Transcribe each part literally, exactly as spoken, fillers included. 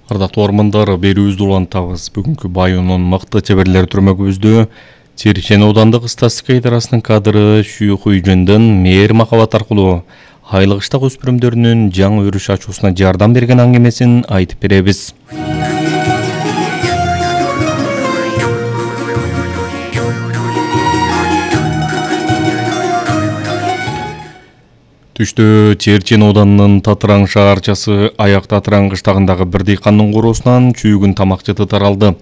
Ардактуу армандар, берүүбүздү улантабыз. Бүгүнкү Баюнун мыкты чеберлер түрмөгүбүздө Чирчен аудандык статистика идарасынын кадры Шүйхуйжындын мээр махабат аркылуу айлык ыштак өспүрүмдөрүнүн жаңы өрүш ачуусуна жардам берген аңгемесин айтып беребиз. Түштө Чирчен ауданынын Татыраң шаарчасы Аяк Татыраң кыштагындагы бир дыйкандын короосунан чүйгүн тамак жыты таралды.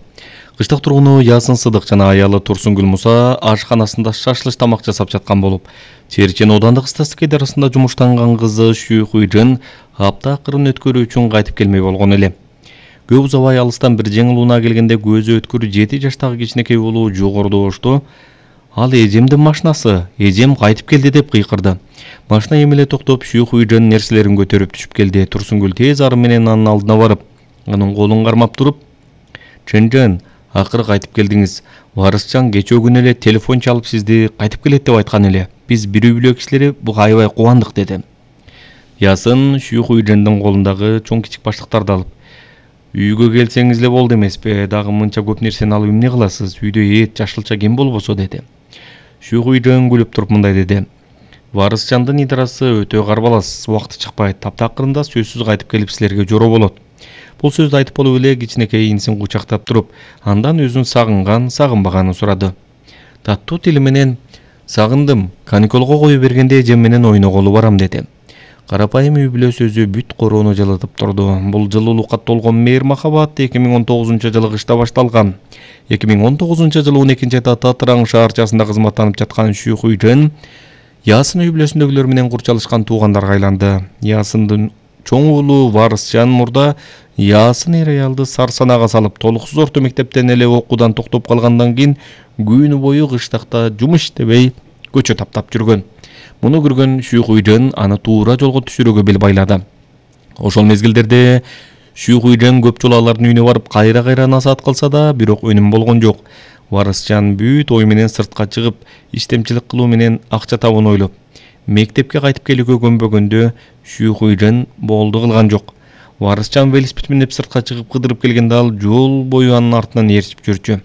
Кыштак тургуну Ясын Сыдык жана аялы Турсунгүл Муса ашканасында шашлык тамак жасап жаткан болуп, Чирчен аудандык статистика идарасында жумуштанган кызы Шүйхуйжын апта акырын өткөрүү үчүн кайтып келмей болгон эле. Көп узабай алыстан бир жеңил унаа келгенде көзү өткүр жети жаштагы кичинекей уулу жогоруда ошту. Ал эжемдин машинасы, эжем кайтып келди деп кыйкырды. Машина эмеле токтоп, Шүйхуйжын нерселерин көтөрүп түшүп келди. Турсунгүл тез ары менен анын алдына барып, анын колун кармап туруп: "Чынжан, акыры кайтып келдиңиз. Варысчан кечээ күнү эле телефон чалып сизди кайтып келет деп айткан эле. Биз бир үй бүлө кишилери буга аябай кубандык" деди. Ясын Шүйхуйжындын колундагы чоң кичик баштыктарды алып: "Үйгө келсеңиз эле болду эмеспи? Дагы мынча көп нерсени алып эмне кыласыз? Үйдө эт, жашылча кем болбосо" деди. Шүйхуйжын күлүп туруп мындай деди: "Варысчандын идарасы өтө карбалас, убакыты чыкпайт. Таптакырында сөзсүз кайтып келип силерге жороо болот." Бул сөздү айтып болуп эле кичинекей инисин кучактап туруп, андан өзүн сагынган, сагынбаганын сурады. Таттуу тили менен: "Сагындым, каникулга кое бергенде эжем менен ойноголу барам" деди. Карапайым үй бүлө сөзү бүт короону жылытып турду. Бул жылуулукка толгон мээр махабат эки миң он тогузунчу жылы кышта башталган. эки миң он тогузунчу жылы он экинчи айда Татыраң шаарчасында кызматтанып жаткан Шүйхуйжын Ясын үй бүлөсүндөгүлөр менен курчалышкан туугандарга айланды. Ясындын чоң уулу Варысчан мурда Ясын эр аялды сарсанага салып, толуксуз орто мектептен эле окуудан токтоп калгандан кийин күнү бою кыштакта жумуш иштебей көчө таптап жүргөн. Муну көргөн Шүйхуйжын аны туура жолго түшүрүүгө бел байлады. Ошол мезгилдерде Шүйхуйжын көп жолу алардын үйүнө барып кайра-кайра насаат кылса да, бирок өнүм болгон жок. Варысчан бүт ой менен сыртка чыгып, иштемчилик кылуу менен акча табууну ойлоп, мектепке кайтып келүүгө көнбөгөндө Шүйхуйжын болду кылган жок. Варысчан велосипед минип сыртка чыгып кыдырып келгенде ал жол бою анын артынан ээрчип жүрчү.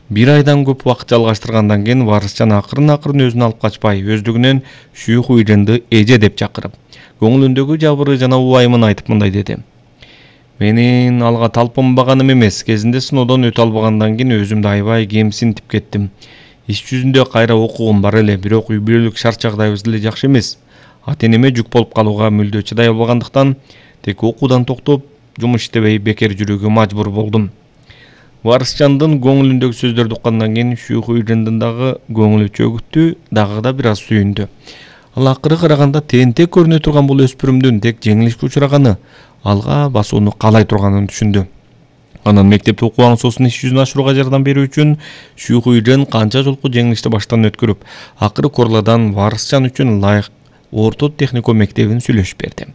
Бир айдан көп убакыт жалгаштыргандан кийин Варысчан акырын-акырын өзүн алып качпай, өздүгүнөн Шүйхуйжынды эже деп чакырып, көңүлүндөгү жабыры жана убайымын айтып мындай деди: "Менин алга талпынбаганым эмес, кезинде сыноодон өтө албагандан кийин өзүмдү аябай кемсинтип кеттим. Иш жүзүндө кайра окугум бар эле, бирок үй бүлөлүк шарт жагдайыбыз деле жакшы эмес. Ата-энеме жүк болуп калууга мүлдө чыдай албагандыктан тек окуудан токтоп, жумуш иштебей бекер жүрүүгө мажбур болдум." Варысчандын көңүлүндөгү сөздөрдү уккандан кийин Шүйхуйжындын дагы көңүлү чөгүттү, дагы да бир аз сүйүндү. Ал акыры караганда тентек көрүнө турган бул өспүрүмдүн тек жеңилишке учураганы, алга басууну каалай турганын түшүндү. Анан мектепте окуган соосун иш жүзүнө ашырууга жардам берүү үчүн Шүйхуйжын канча жолку жеңилишти баштан өткөрүп, акыры Корладан Варысчан үчүн ылайык орто техникум мектебин сүйлөшүп берди.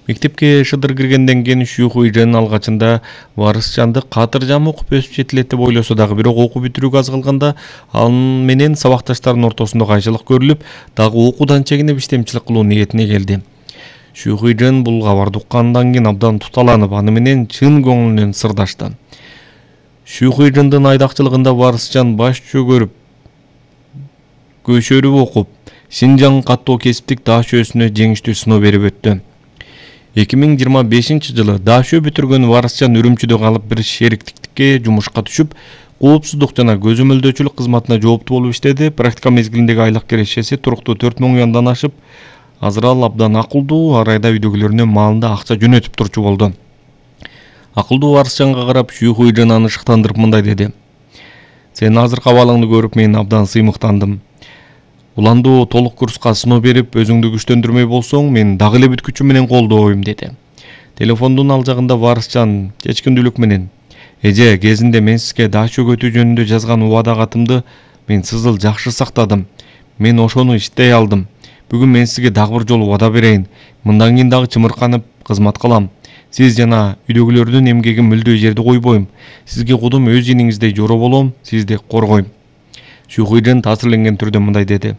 Мектепке шыдыр киргенден кийин Шүйхуйжын алгачында Варысчанды катыржам окуп өсүп жетилет деп ойлосо дагы, бирок окуу бүтүрүүгө аз калганда ал менен сабакташтарынын ортосунда кайшылык көрүлүп, дагы окуудан чегинип иштемчилик кылуу ниетине келди. Шүйхуйжын бул кабарды уккандан кийин абдан туталанып, аны менен чын көңүлүнөн сырдашты. Шүйхуйжындын айдакчылыгында Варысчан баш чөгөрүп, көшөрүп окуп, Синжаң каттоо кесиптик даашөсүнө жеңиштүү сыноо берип өттү. эки миң жыйырма бешинчи жылы даашө бүтүргөн Варысчан Үрүмчүдө калып бир шериктикке жумушка түшүп, коопсуздук жана көзөмөлдөөчүлүк кызматына жооптуу болуп иштеди. Практика мезгилиндеги айлык кирешеси туруктуу төрт миң юандан ашып, азыр ал абдан акылдуу, ар айда үйдөгүлөрүнө маалында акча жөнөтүп турчу болду. Акылдуу Варысчанга карап Шүйхуйжын аны шыктандырып мындай деди: "Сен азыркы абалыңды көрүп мен абдан сыймыктандым. Уландуу толук курска сыноо берип, өзүңдү күчтөндүрмөй болсоң, мен дагы эле бүт күчүм менен колдойм" деди. Телефондун ал жагында Варысчан чечкиндүүлүк менен: "Эже, кезинде мен сизге даашөгө өтүү жөнүндө жазган убада катымды мен сызыл жакшы сактадым. Мен ошону иштей алдым. Бүгүн мен сизге дагы бир жолу убада берейин. Мындан кийин дагы чымырканып кызмат кылам. Сиз жана үйдөгүлөрдүн эмгегин мүлдө жерде койбойм. Сизге кудум өз иниңиздей жоро болом, сизди коргойм." Шүйхуйжын таасирленген түрдө мындай деди: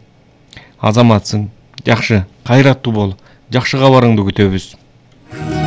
"Азаматсың, жакшы, кайраттуу бол. Жакшы кабарыңды күтөбүз."